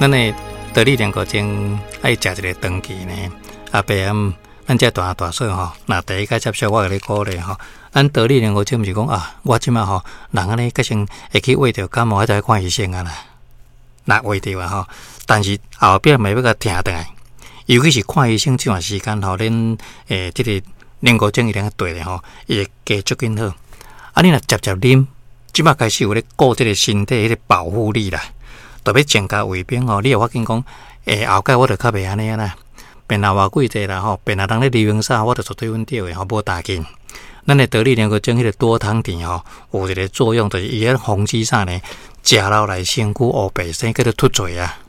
咱的得力龍骨精愛食一个長期呢，阿伯啊，咱這大大細吼，若第一擺接觸，我共你鼓勵吼，咱得力龍骨精毋是講啊，我這擺吼，人按呢，較先會去穢著感冒，還著愛看醫生啊啦，若穢著啊吼，但是後壁嘛欲共疼轉來，尤其是看醫生這段時間吼，恁這个龍骨精一定對的吼，伊會加足緊好。啊，你若捷捷啉，這擺開始有咧顧這个身體彼个保護力啦。特別增加胃病吼，你會發現講，後蓋我就較袂按呢啦，變若偌貴濟啦吼，變若人咧流行啥，我就絕對穩著的吼，無大緊。咱的得力龍骨精彼个多糖體吼，有一个作用，就是伊咧防止啥呢？食落來身軀烏白生，叫做脫罪啊，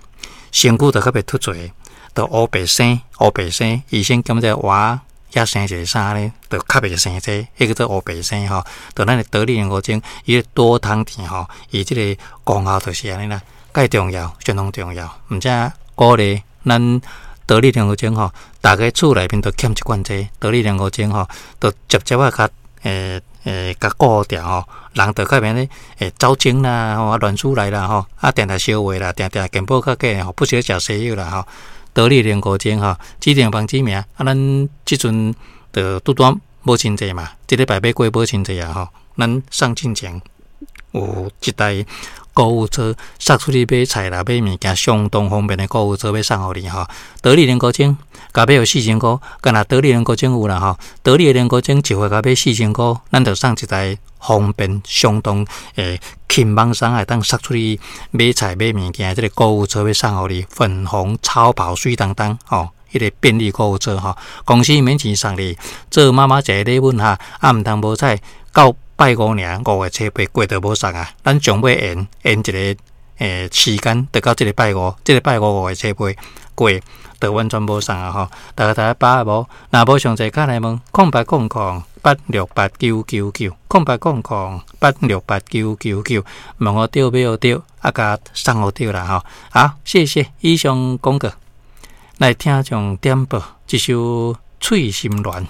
身軀就較袂脫罪，就烏白生，烏白生，醫生檢查活遐生一个啥呢？就較袂生這個，彼叫做烏白生吼。就咱的得力龍骨精，伊个多糖體吼，伊這个功效就是按呢啦。蓋重要，相當重要。毋只鼓勵咱得力龍骨精吼，逐家厝內面都欠一罐這得力龍骨精吼，都捷捷仔共共顧著吼，人就較免咧走精啦，吼啊亂出來啦吼，啊定定燒話啦，定定健保較假吼，不時咧食西藥啦吼。得力龍骨精吼，指定網址名啊，咱這陣就拄拄母親節嘛，這禮拜欲過母親節啊吼，咱送進前有一台購物車送出去買菜啦、買物件，相當方便的購物車欲送予你吼。得力龍骨精，共買予四千箍，敢若得力龍骨精有啦吼。得力龍骨精一回共買四千箍，咱就送一台方便相當輕鬆鬆會當送出去買菜買物件，這个購物車欲送予你，粉紅超跑媠當當吼。彼个便利購物車吼，公司免錢送你，做媽媽一个禮物哈，啊毋通無彩到拜五爾，五月初八過就無送啊！咱上尾延延一個時間，就到這个拜五，這个拜五五月初八過，就完全無送啊！吼，大家大家把握無？若無詳細，敲來問0800868999，0800868999，問予著買予著，啊，共送予著啦！吼，好，謝謝以上廣告，來聽眾點播這首《翠心戀》。